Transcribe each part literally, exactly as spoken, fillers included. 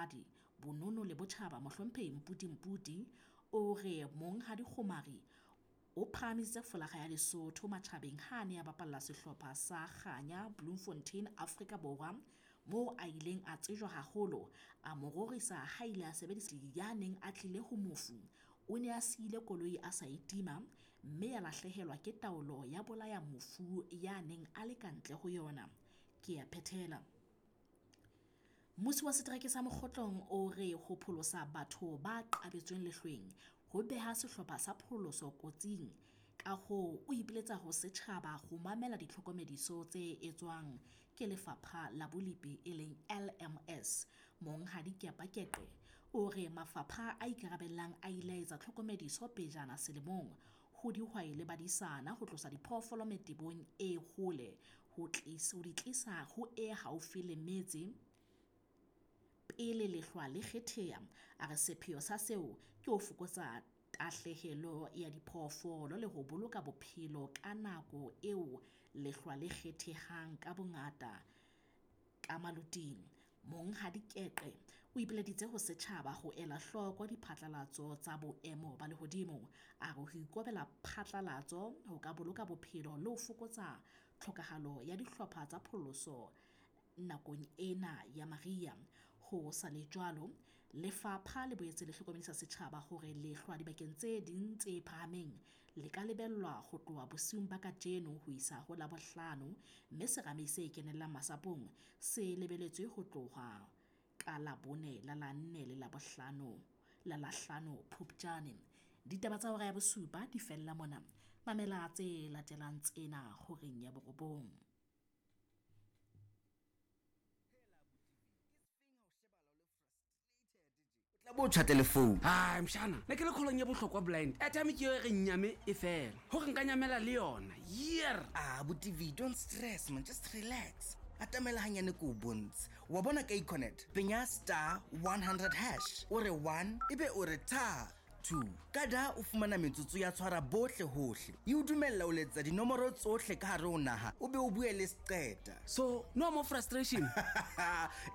Basadi, Bonono le Botjhaba Mohlomphehi Mphuti Mphuti o re Monghadi Kgomari o phahamisitse folakga ya Lesotho matjhabeng ha a ne a bapalla sehlopha sa Kganya Bloemfontein Afrika Borwa moo a ileng a tsejwa haholo a mo rorisa ha ile a sebedisa ya neng a tlile ho mofu o ne a siile koloi a sa e tima mme ya lahlehelwa ke taolo ya bolaya mofu ya neng a le ka ntle ho yona. Ke a phethela. Mmusi wa setereke sa Mokgotlong o re ho pholosa batho ba qabetsweng lehlweng ho beha sehlopha sa pholoso kotsing. Ka hoo o ipiletsa ho setjhaba ho mamela ditlhokomediso tse etswang ke lefapha la bolepi e leng L M S. Monghadi Kepa Keqe o re mafapha a ikarabellang a ile a etsa tlhokomediso pejana selemong ho dihwai le badisana ho tlosa diphoofolo metebong e hole ho tlisa ho di tlisa ho e haufi le metse pele lehlwa le kgetheha. A re sepheo sa seo ke ho fokotsa tahlehelo ya diphoofolo le ho boloka bophelo ka nako eo lehlwa le kgethehang ka bongata ka maloting. Monghadi Keqe o ipileditse ho setjhaba ho ela hloko diphatlalatso tsa boemo ba lehodimo. A re ho ikobela phatlalatso ho ka boloka bophelo le ho fokotsa tlhokahalo ya dihlopha tsa pholoso nakong ena ya mariha. Ho sa le jwalo, lefapha le boetse le hlokomedisa setjhaba hore lehlwa dibakeng tse ding tse phahameng le ka lebellwa ho tloha bosiung ba kajeno ho isa ho Labohlano, mme serame se kenellang masapong se lebeletswe ho tloha ka Labone la la nne le Labohlano la la hlano Phupjane. Ditaba tsa hora ya bosupa di fella mona. Mamela tse latelang tsena horeng ya borobong. Tla bo tjha telephone. Ai mshana, ne ke le kholong ya bohlokwa blind. Airtime ke yo re nyame e fela. Hore nka nyamela le yona. Year. Ah, bo T V, don't stress man, just relax. Atamela hanyane ko bontshe. Wa bona ka Econet. Penya star one hundred hash. O re one ebe o re tha two. Kada o fumana metsotso ya tshwara bohle hohle. E o dumella o letsa dinomoro tsohle ka hare ho naha, o be o bue le seqeta. So, no more frustration.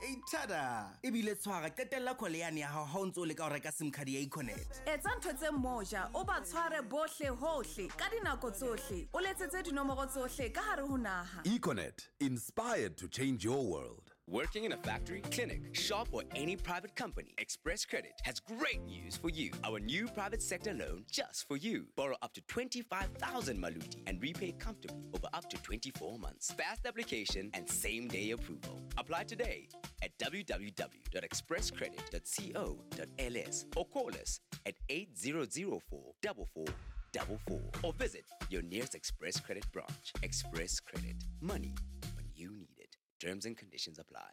E tada. Ebile tshwara qetella call yane ya hao ha o ntso o leka ho reka SIM card ya Econet. Etsa ntho tse moja, o ba tshware bohle hohle ka dinako tsohle. O letsetse dinomoro tsohle ka hare ho naha. Econet, inspired to change your world. Working in a factory, clinic, shop, or any private company, Express Credit has great news for you. Our new private sector loan just for you. Borrow up to twenty-five thousand maluti and repay comfortably over up to twenty-four months. Fast application and same-day approval. Apply today at w w w dot express credit dot co dot l s or call us at eight zero zero four four four four four or visit your nearest Express Credit branch. Express Credit. Money when you need it. Terms and conditions apply.